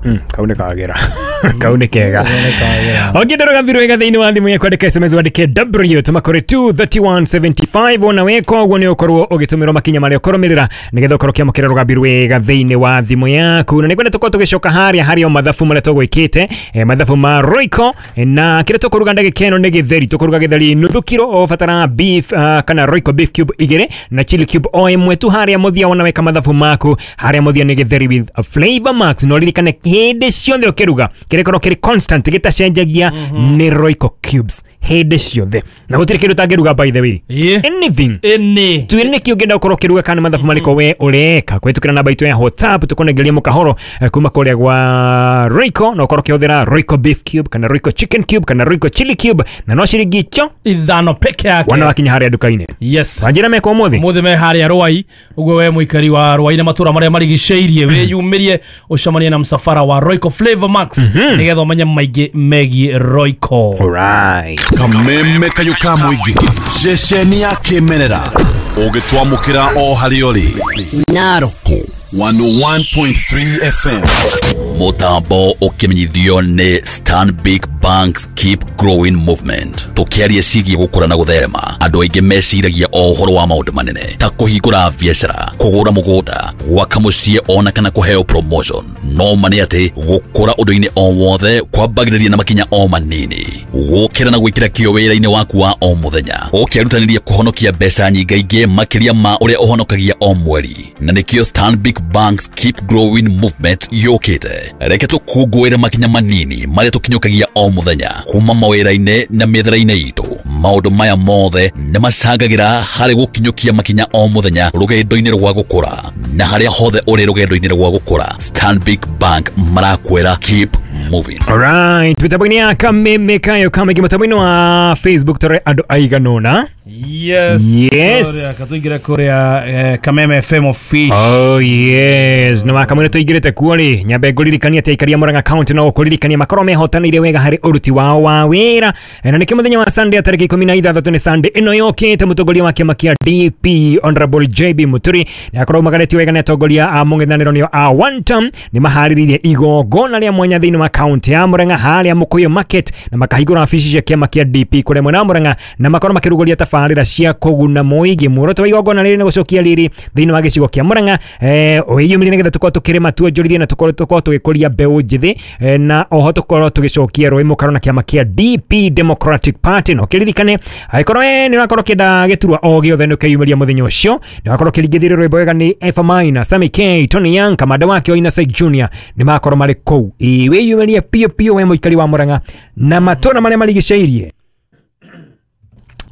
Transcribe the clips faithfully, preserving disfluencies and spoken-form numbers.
Mm, kau nĩ kagera kau nĩ kega ũngĩenda rũgambi rwega thĩinĩ wa thimũ yaku andĩka S M S wandĩke W tũma kũrĩ two thirty-one seventy-five ona weka ũguo nĩ ũkorwo ũgĩtũmĩrwo makinya marĩa ũkũrũmĩrĩra nĩgetha ũkorwo ũkĩamũkĩra rũgambi rwega thĩinĩ wa thimũ yaku na nĩngwenda tũkorwo tũgĩcoka harĩa harĩ o mathabu marĩa tũgwĩkĩte eh, mathabu ma Royco eh, na kĩrĩa tũkũruga ndagĩka ĩno nĩ gĩtheri tũkũruga gĩtheri nuthu kiro ũbatara beef uh, kana Royco beef cube igĩrĩ na chili cube o ĩmwe tu harĩa mũthia wona weka mathabu maku harĩa mũthia nĩ gĩtheri with a flavor max no ririkane hĩndĩ ciothe ũkĩruga kĩrĩkorwo kĩrĩ constant gĩtacenjagia nĩ Royco cubes hĩndĩ ciothe na gũtirĩ kĩndũ ũtangĩruga by the way yeah. anything Any. tuĩ nĩkĩ ũngĩenda ũkorwo ũkĩruga kana mathabu marĩkũ we ũreka kũhĩtũkĩra namba itũ ya WhatsApp tũkũnengeria mũkahoro eh, kuma kũrĩa gwa Royco na ũkorwo ũkĩhũthĩra Royco beef cube kana Royco chicken cube kana Royco chili cube na no ciringi icio ithano peke yake wana wakinya harĩa nduka-inĩ yes wanjĩra meka ũmũthĩ mũthĩ me harĩa Rwai ũguo we mũikari wa Rwai na matũra marĩa marigicĩirie wĩyumĩrie ũcemanie na msafara wa Royco Flavor Max nĩgetha ũmenye maingĩ megiĩ Royco. Alright. Kameme kayo ka mũingĩ ceceni ya kĩmerera ũgĩtwamũkĩra o harĩa ũrĩ Narok one oh one point three F M Mũtambo ũkĩmenyithio nĩ Stanbic Banks Keep Growing Movement. Tũkĩaria ciĩgiĩ gũkũra na gũtherema andũ aingĩ meciragia o ũhoro wa maũndũ manene ta kũhingũra biacara kũgũra mũgũnda gwaka mũciĩ ona kana kũheo promotion no ma nĩ atĩ gũkũra ũndũ-inĩ o wothe kwambagĩrĩria na makinya o manini gũkĩra na gwĩkĩra kĩo wĩra-inĩ waku wa o mũthenya ũkĩrutanĩria kũhonokia mbeca nyingaingĩ makĩria ma ũrĩa ũhonokagia o mweri na nĩkĩo Stanbic Banks Keep Growing Movement yũkĩte reke tũkũngũĩre makinya manini marĩa tũkinyũkagia o mũthenya kuma mawĩra-inĩ na mĩethere-inĩ itũ maũndũ maya mothe nĩ macangagĩra harĩ gũkinyũkia makinya o mũthenya rũgendo-inĩ rwa gũkũra na harĩa hothe ũrĩ rũgendo-inĩ rwa gũkũra Stanbic Bank marakwĩra keep moving. Alright, mĩtambo-inĩ ya Kameme Kayo Kamĩingĩ mũtambo-inĩ wa Facebook tũrĩ andũ aiganona. Yes. Yes. Katuingire kuria eh, Kameme F M official. Oh yes. Na wakamwe tuingirite kuo ri nyambe nguririkania ati aikaria Murang'a County no kuririkania makorwo mehotanire wega hari uruti wao wa wira na nĩkĩo mũthenya wa Sunday tarĩki ikũmi na ithathatũ nĩ Sunday ĩno yũkĩte mũtongoria wa kĩama kĩa D P Honorable J B Muturi nĩ akorwo magarĩtio wega nĩ atongoria a mũng'ethanĩro nĩo a one term nĩ maharĩrĩirie igongona rĩa mwanya thĩinĩ wa county ya Murang'a harĩa Mũkũyũ Market na makahingũra wabici cia kĩama kĩa D P kũrĩa mwena wa Murang'a na makorwo makĩrugũria tabarĩra cia kũguna mũingĩ muoroto wa igongona rĩrĩ nĩ gũcokia riri thĩinĩ wa gĩcigo kĩa Murang'a eh wĩyumĩrie nĩgetha tũkorwo tũkĩrĩma tuonjorithie na tũkorwo tũkorwo tũgĩkũria mbeũ njĩthĩ eh, na oho tũkorwo tũgĩcokia rũĩ mũkaro na kĩama kĩa D P Democratic Party no kĩririkane angĩkorwo we nĩ ũrakorwo ũkĩenda gĩturwa o gĩothe nĩ ũkeyumĩria mũthenya ũcio nĩ ũrakorwo ũkĩringithĩrio rwĩmbo wega nĩ Efa Maina, Sammy K, Tony Young, Kamanda wake Oina Said Junior nĩ makorwo marĩ kũu. Ĩ wĩyumĩrie piũ piũ we mũikari wa Murang'a na matũra marĩa marigicĩirie.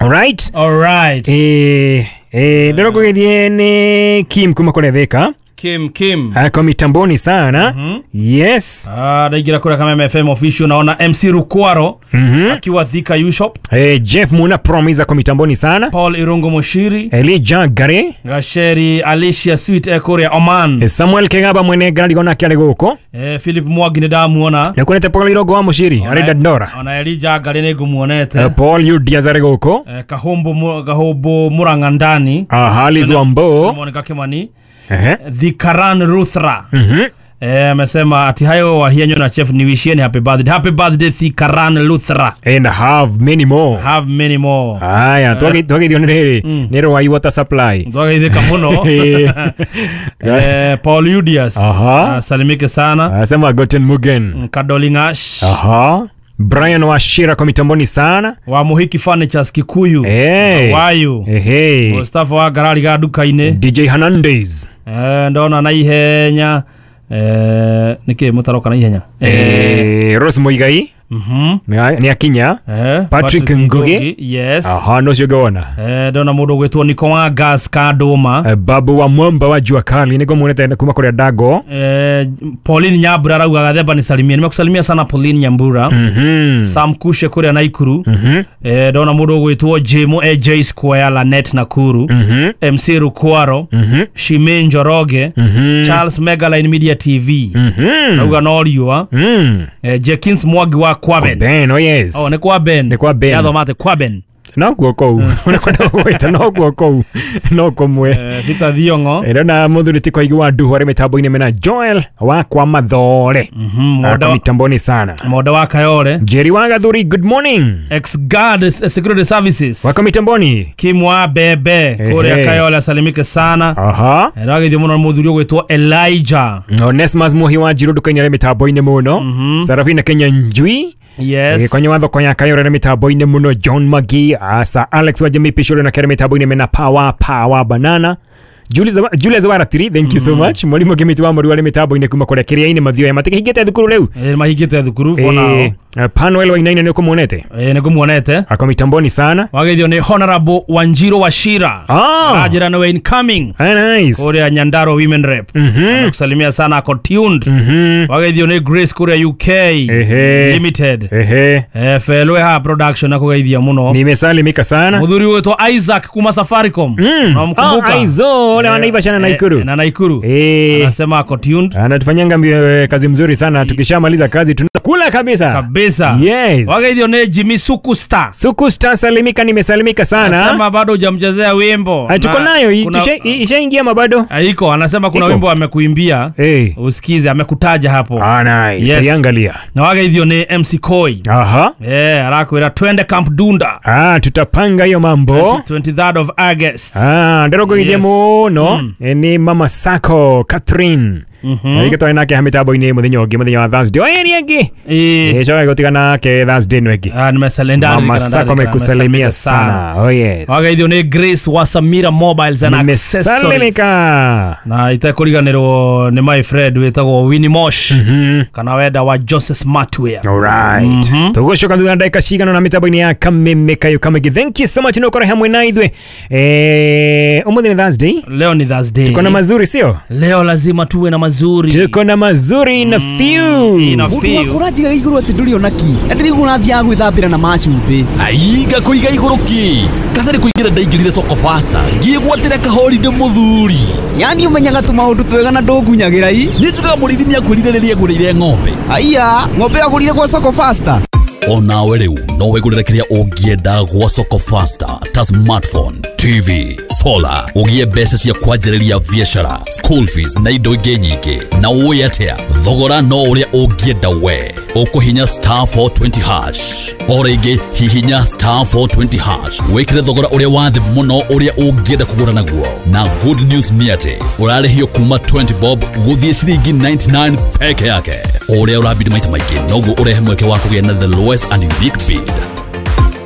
All right. All right. Eh eh ndero kugithie ni Kim kuma kule Thika. Kim Kim. Ako mitamboni sana. Mm -hmm. Yes. Ah, ndaingira kule Kameme F M official naona M C Rukwaro mm -hmm. akiwa Thika U Shop. Eh Jeff Muna Promise ako mitamboni sana. Paul Irungo Moshiri. Elijah Gare. Gasheri Alicia Sweet Ekoria Oman. Eh, Samuel Kegaba mwene gari gona kiare goko. Eh Philip Mwagi ni ndamuona. Na kunete Paul Irogo wa Moshiri ari Dandora. Ona Elijah Gare ni ngumuonete. Eh, Paul Yudiaz ari goko. Eh, Kahombo Kahombo Murang'a ndani. Ah Halis Wambo. Monica Kimani. Uh-huh. The Karan Ruthra. Mhm. Eh amesema ati hayo wahianyo na chef niwishieni happy birthday. Happy birthday The Karan Luthra. And have many more. Have many more. Aya, twagi twagi thio ni ni Rwai water supply. Twagi thika muno. Eh Paul Yudias. Aha. Salimike sana. Anasema Goten Mugen. Kadolingash. Aha. Brian Washira kwa mitamboni sana. Wa Muhiki Furnitures Kikuyu. Hey. Wayu. Hey, hey. Mustafa wa Garari ga duka-inĩ. D J Hernandez. Eh ndona na ihenya. Eh niki mutaroka na ihenya. Eh Rose Muigai. Mhm. Ni akinya. Eh Patrick Ngugi. Yes. Aha no cigona. Eh ndona mundu gwitwo Niko wa Gas Kadoma. Eh, Babu wa Mwamba wa Jua Kali niko muonete kuma kuria Dago. Eh Pauline Nyambura arauga gathemba ni salimia. Nimekusalimia sana Pauline Nyambura. Mhm. Sam Kushe kuria Naikuru. Mhm. Eh ndona mundu gwitwo Jimo A J Square Lanet Nakuru. Mhm. M C Rukwaro. Mhm. Shime Njoroge. Mhm. Charles Megaline Media T V. Mhm. Arauga no riua. Mhm. Eh Jenkins Mwagi wa Kwa Ben. Ben, oh yes. Oh, ni kwa Ben. Ni kwa Ben. Yathomate kwa Ben. No guo kũu unakwenda gwĩta no guo kũu no kũmwe. Peter Thiong'o ndona mũthuri ti kwaigua nduhu arĩ mĩtambo-inĩ mena Joel wa kwa Mathore Mwenda mitamboni sana. Mwenda wa Kayore Jerry wa Gathuri, good morning. Ex Guard Security Services wako mitamboni Kimwa Bebe kũrĩa Kayole asalimike sana. Aha ndagithio mũno mũthuri ũgwĩtwo Elijah Onesmus Muhi wa Njiru nduka-inĩ arĩ mĩtambo-inĩ mũno. Sarafina Kenya Njui. Yes. Kwenye watho kwa Kayore na mitambo-inĩ mũno John Magi, Asa Alex wa Jamii Pishoro na kere mitambo-inĩ mena Power Power Banana. Julius Waratiri, thank you so much. Mwalimu Kimiti wa Mũru arĩ mitambo-inĩ kuma kũrĩa kĩrĩa-inĩ mathioya matikĩhingĩte thukuru rĩu. Eh mahingĩte thukuru for now. Panuel wa Inaina nĩ ũkũmuonete? Eh nĩ ngũmuonete. Ako mitamboni sana. Wageithio nĩ Honorable Wanjiro Wachira. Ah. Ajira no incoming. Ah, nice. Kũrĩa Nyandarua Women Rep. Nakusalimia sana ako tuned. Wageithio nĩ Grace kũrĩa U K Ehe. Limited. Ehe. Eh Felwe production nakugeithia mũno. Nimesalimika sana. Mũthuri witũ Isaac kuma Safaricom. Unamkumbuka? Ah, Aizo wale wanaiva sana Naikuru. Na Naikuru. Eh. Anasema ako tuned. Anatufanyanga kazi mzuri sana. Tukishamaliza kazi tunakula kabisa. Kabisa. Yes. Wageithio nĩ Jimmy Suku Star. Suku Star salimika, nimesalimika sana. Anasema bado hujamchezea wimbo. Tuko nayo ishaingia mabado. Iko, anasema kuna wimbo amekuimbia. Hey. Usikize, amekutaja hapo. Ah, nice. Yes. Tuiangalia. Na wageithio nĩ M C Koi. Aha. Eh, arakwira twende Camp Dunda. Ah, tutapanga hiyo mambo. twenty-third of August. Ah, ndero Yes. muno Mm. ni Mama Sako Catherine. Mhm. Igĩtwarĩ nake ha mĩtambo-inĩ mũthenya ũngĩ mũthenya wa Thursday. Oye ni ĩngĩ. Eh. Eh, coka gũtigana nake Thursday ĩno ĩngĩ. Ah, nimesalenda. Mama Sako amekusalimia sana. Oh yes. Wageithio nĩ Grace wa Samira Mobiles and Accessories. Nimesalimika. Na itekũriganĩrwo nĩ my friend wĩtagwo Winnie Mosh. Mhm. Kana wenda wa Joseph Smartwear. All right. Mm -hmm. Tũgũcoka thutha ndagĩka cigana na mĩtambo-inĩ ya Kameme Kayo Kamĩngĩ. Thank you so much nĩ ũkorwo hamwe na ithuĩ. Eh, ũmũthĩ nĩ Thursday. Leo ni Thursday. Tuko na mazuri sio? Leo lazima tuwe na mazuri. Tuko na mazuri na few. Ina Mũndũ few. waku ũranjigaga igũrũ atĩ ndũrĩ ona ki na ndĩrĩguo ũrathiaga gwĩthambĩra na macumbĩ. Aiga kũiga igũrũ kĩ katarĩ kũingĩra ndaingĩrire soko faster ngĩgwatĩra kahorinde mũthuri. Yani ũmenyaga tũmaũndũ twega na ndũngunyagĩra i. Niĩ njugaga mũrĩithi nĩakwĩrire rĩrĩa agũrĩire ng'ombe. Aiya, ng'ombe agũrire gwa soko faster. Onawe rĩu no wĩgũrĩre kĩrĩa ũngĩenda gwa soko faster ta smartphone, T V, solar, ũgĩe mbeca cia kwanjĩrĩria biacara, school fees na indo ingĩ nyingĩ. Na ũĩ atĩa, thogora no ũrĩa ũngĩenda we. Ũkũhinya star four twenty hash. O rĩngĩ hihinya star four twenty hash wĩkĩre thogora ũrĩa wa thĩ mũno ũrĩa ũngĩenda kũgũra naguo. Na good news nĩ atĩ ũrarĩhio kuma twenty bob gũthiĩ ciringi ninety-nine peke yake. O ũrĩa ũrabidi maita maingĩ noguo ũrehe mweke wa kũgĩa na the lowest and unique bid.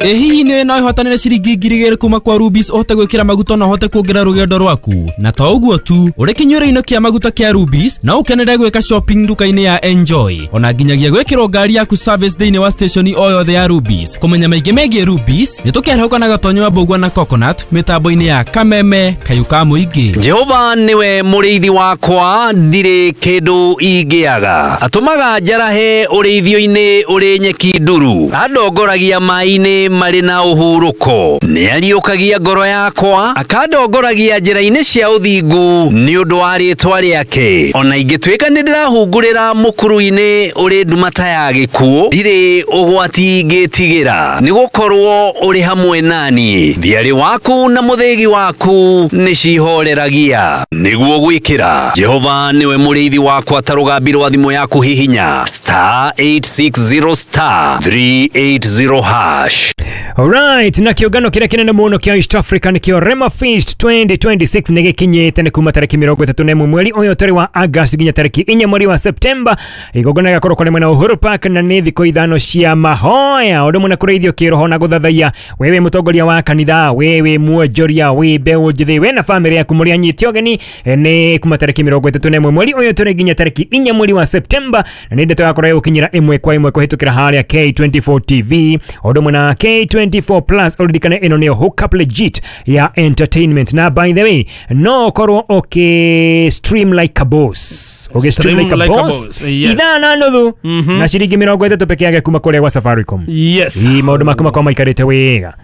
Ĩ hihi nĩ no ĩhotanĩre ciringi ngiri igĩrĩ kuma kwa Rubis ũhote gwĩkĩra maguta na ũhote kuongerera rũgendo rwaku. Na to ũguo tu, ũrĩ kĩnyuĩro-inĩ kĩa maguta kĩa Rubis no ũkenere gwĩka shopping nduka-inĩ ya Enjoy. Ona nginyagia gwĩkĩrwo ngari yaku service thĩinĩ wa station o yothe ya Rubis. Kũmenya maingĩ megiĩ Rubis, nĩ tũkerehũka na Gatonyo wa Mbũgua na Coconut mĩtambo-inĩ ya Kameme Kayũ ka Mũingĩ. Jehova niwe mũrĩithi wakwa, ndirĩ kĩndũ ingĩaga. Atũmaga njarahe ũrĩithio-inĩ ũrĩ nyeki nduru, andongoragia maĩ-inĩ marĩ na ũhurũko. Nĩariũkagia ngoro yakwa, akandongoragia njĩra-inĩ cia ũthingu nĩ ũndũ wa rĩĩtwa rĩake. Ona ingĩtuĩka nĩ ndĩrahungurĩra mũkuru-inĩ ũrĩ nduma ta ya gĩkuũ, ndirĩ ũgwati ingĩtigĩra, nĩgũkorwo ũrĩ hamwe nani. Thiarĩ waku na mũthĩgi waku nĩcihoreragia. Nĩguo gwĩkĩra Jehova nĩwe mũrĩithi wakwa ta rũgambi rwa thimũ yaku hihinya star eight six zero star three eight zero hash. Alright, na kĩũngano kĩrĩa kĩnene mũno kĩa East Africa nĩkĩo Rema Feast twenty twenty-six nĩ gĩkinyĩte nĩ kuma tarĩki mĩrongo ĩtatũ na ĩmwe mweri ũyũ tarĩ wa August nginya tarĩki inya mweri wa September. Igongona rĩgakorwo kũrĩ mwena wa Uhuru Park na nĩ thikũ ithano cia mahoya ũndũ ũmwe na kũrĩithio kĩroho na gũthathaiya. Wewe mũtongoria wa kanitha, wewe mwonjoria, wĩ mbeũ njĩthĩ, we na bamĩrĩ yaku mũrĩ anyiti ũgeni nĩ kuma tarĩki mĩrongo ĩtatũ na ĩmwe mweri ũyũ tarĩ nginya tarĩki inya mweri wa September, na nĩ ndeto yakorwo ĩgũkinyĩra ĩmwe kwa ĩmwe kũhĩtũkĩra harĩa K twenty-four T V ũndũ ũmwe na K twenty-four Plus. Ũririkane ĩno nĩyo hookup legit ya entertainment. Na by the way, no ũkorwo ũkĩ stream like a boss, ũgĩ stream like a boss ithaa na nuthu na ciringi mĩrongo ĩtatũ peke yake kuma kũrĩa gwa Safaricom. Yes. Ii maũndũ maku makorwo maikarĩte wega.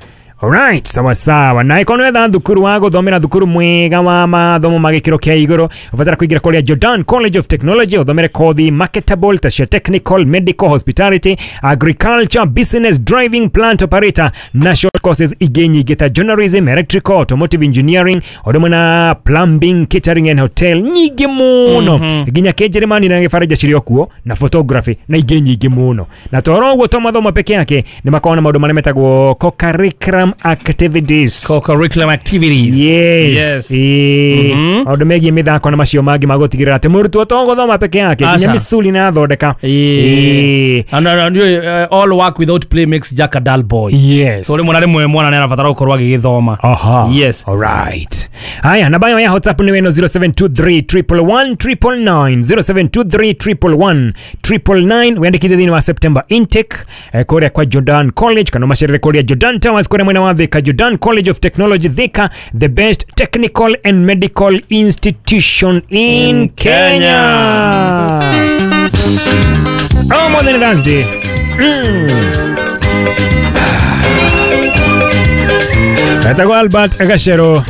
Alright, sawa sawa. Na ikono etha thukuru wa guthomera thukuru mwega wa mathomo ma gĩkĩro kĩa igũrũ, ũbatara kũingĩra kũrĩa Jordan College of Technology ũthomere kothi marketable ta cia technical, medical, hospitality, agriculture, business, driving, plant operator na short courses ingĩ nyingĩ ta journalism, electrical, automotive engineering, ũndũ ũmwe na plumbing, catering and hotel nyingĩ mũno. Nginya Kĩnjĩrĩmani na Gĩbaranja cirĩ o kuo na photography na ingĩ nyingĩ mũno. Na toro ũguo to mathomo peke yake nĩ makoragwo na maũndũ marĩa metagwo co-curriculum activities. Co-curriculum activities. Yes. Yes. Ĩĩ. Mhm. Maũndũ megiĩ mĩthako na macio mangĩ magũtigĩrĩra atĩ mũrutwo to gũthoma peke yake nginya Aca. mĩculi na athondeka. Ĩĩ. Ĩĩ. And, and, uh, all work without play makes Jack a dull boy. Yes. So rĩmwe na rĩmwe mwana nĩ arabatara gũkorwo agĩgĩthoma. Aha. Yes. Alright. Haya, namba yao ya WhatsApp ni weno zero seven two three triple one triple nine, zero seven two three triple one triple nine. Wandikithie thĩinĩ wa September intake eh, kũrĩa kwa Jordan College kana ũmacerere kũrĩa Jordan Towers kũrĩa mwena wa Thika. Jordan College of Technology Thika, the best technical and medical institution in, In Kenya. Oh, more than Thursday. Mm. Etagwo Albert Gachero.